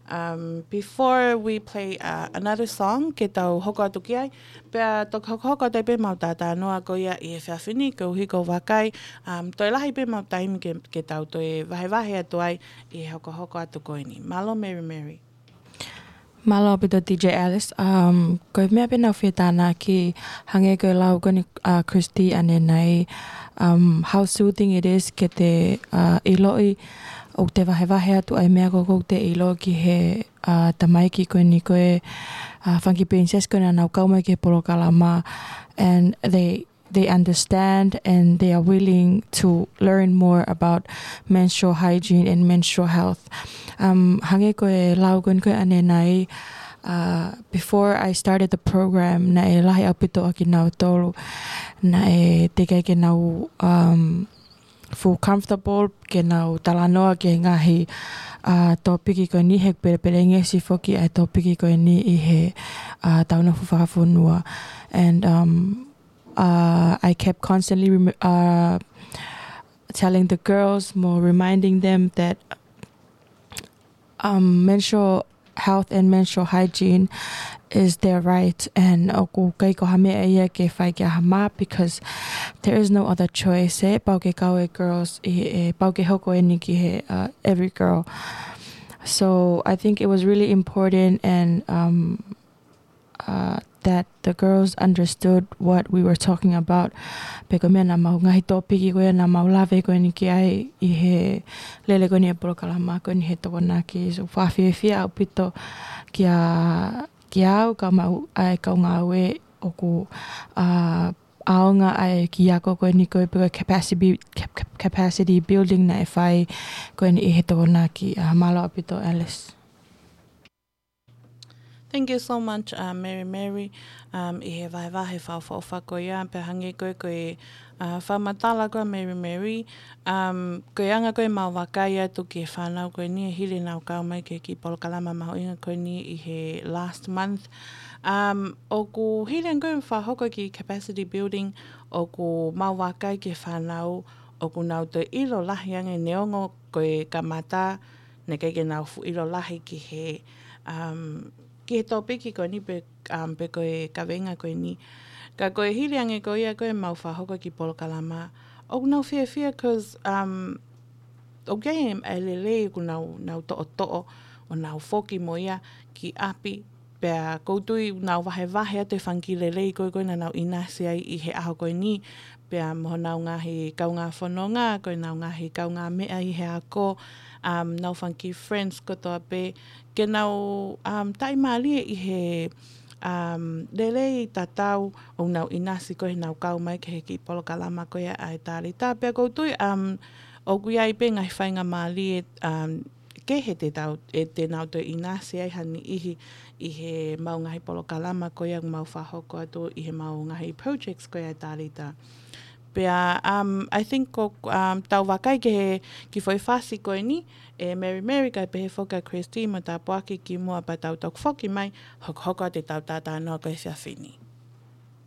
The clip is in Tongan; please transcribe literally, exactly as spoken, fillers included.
Um, before we play uh, another song, ke tau hoko atu ki ai, pea toki hokohoko atu ai pē ʻemau talanoa ko ia ʻi he efiafi ni, koeʻuhi ko e vakai, um, toe lahi pē ʻemau taimi ke, ke tau toe vahevahe atu ai ʻi he hokohoko atu ko eni. Mālō Mary Mary. Mālō ʻaupito D J Alice. Um, ko e meʻa pē naʻa ku fie tānaki, hangē ko e lau ko eni ʻa Christy ʻanenai, um, how soothing it is ke te uh, ʻiloʻi ʻoku te vahevahe atu ʻa e meʻa ko ē ʻoku te ʻilo ki he uh, tamaiki ko eni ko e uh, fanga kiʻi princess ko eni naʻa nau kau mai ki he polokalama, and they they understand and they are willing to learn more about menstrual hygiene and menstrual health. Um, hangē ko e lau ko eni ko ē ʻanenai, uh, before I started the program, naʻe lahi ʻaupito ʻa kinautolu naʻe teʻeki ai ke nau um, feel comfortable ke nau talanoa ki he ngaahi uh, tōpiki ko eni, he pelepelengesi foki ʻa e tōpiki ko eni ʻi he uh, tau nofo fakafonua. And um, uh, I kept constantly rem- uh, telling the girls, more reminding them that um, menstrual health and menstrual hygiene is their right, and ʻoku ʻikai ko ha meʻa ia ke fai kia ha mā, because there is no other choice, ʻe pau ke kau e girls, ʻe, ʻe pau ke hoko eni ki he uh, every girl. So I think it was really important and um, uh, that the girls understood what we were talking about. Pea ko e meʻa naʻa mau ngaahi tōpiki ko ia naʻa mau lave ko eni ki ai ʻi he lele ko eni e polokalama ko eni he Tokonaki. So fakafiefia ʻaupito kia, kia au kae ʻumaʻā e kau ngāue ʻoku uh, ʻaonga ʻa e kiʻi ako ko eni ko e pe ko e capacity, cap- cap- capacity building naʻe fai ko eni ʻi he Tokonaki. Uh, mālō ʻaupito Alice. Thank you so much, uh, Mary Mary. Um, ʻi he vahevahe fakaʻofoʻofa ko ia, pea hangē ko e, ko e uh, fakamatala ko ia Mary Mary. Um, ko e anga ko ē ʻemau vakai atu ki he fānau ko eni ʻe hili ʻenau kau mai ki he kiʻi polokalama mahuʻinga ko eni ʻi he last month. Um, ʻoku hili ange ko e fakahoko e kiʻi capacity building, ʻoku mau vakai ki he fānau ʻoku nau toe ʻilo lahi ange neongo ko e kamata, naʻe ʻikai ke nau fuʻu ʻilo lahi ki he, um, ki he tōpiki ko eni pe, um, pe ko e kaveinga ko eni. Ka ko e hili ange ko ia ko ʻemau fakahoko e kiʻi polokalama, ʻoku nau fiefia because, um, ʻoku ʻi ai e lelei ʻoku nau, nau toʻotoʻo ʻo nau foki mo ia ki ʻapi, pea ʻoku ou tui ʻoku nau vahevahe atu e fanga kiʻi lelei ko ē ko ē naʻa nau ʻinasi ai ʻi he ʻaho ko eni, pea mo honau ngaahi kaungā fononga, ko ʻenau ngaahi kaungāmeʻa ʻi he ako, um, ʻenau fanga kiʻi friends kotoa pē, ke nau, um, taʻimālie ʻi he, um, lelei tatau ʻoku nau ʻinasi ko ē heʻenau kau mai ki he kiʻi polokalama ko ia ʻa e Talita. Pea ʻoku ou tui, um, ʻoku ʻi ai pē ngaahi faingamālie, um, kehe te tau, ʻe te nau toe ʻinasi ai ha niʻihi ʻi heʻemau ngaahi polokalama ko ia ʻoku mau fakahoko atu ʻi heʻemau ngaahi projects ko ia ʻa e Talita. Pea, um, I think ko, um, tau vakai ki he kiʻi foʻi fasi ko eni ʻe Mary Mary kae pehē foki ʻa Christy mo tāpuaki kimuʻa pea tau toki foki mai, hokohoko atu ʻetau talanoa ko e efiafi ni.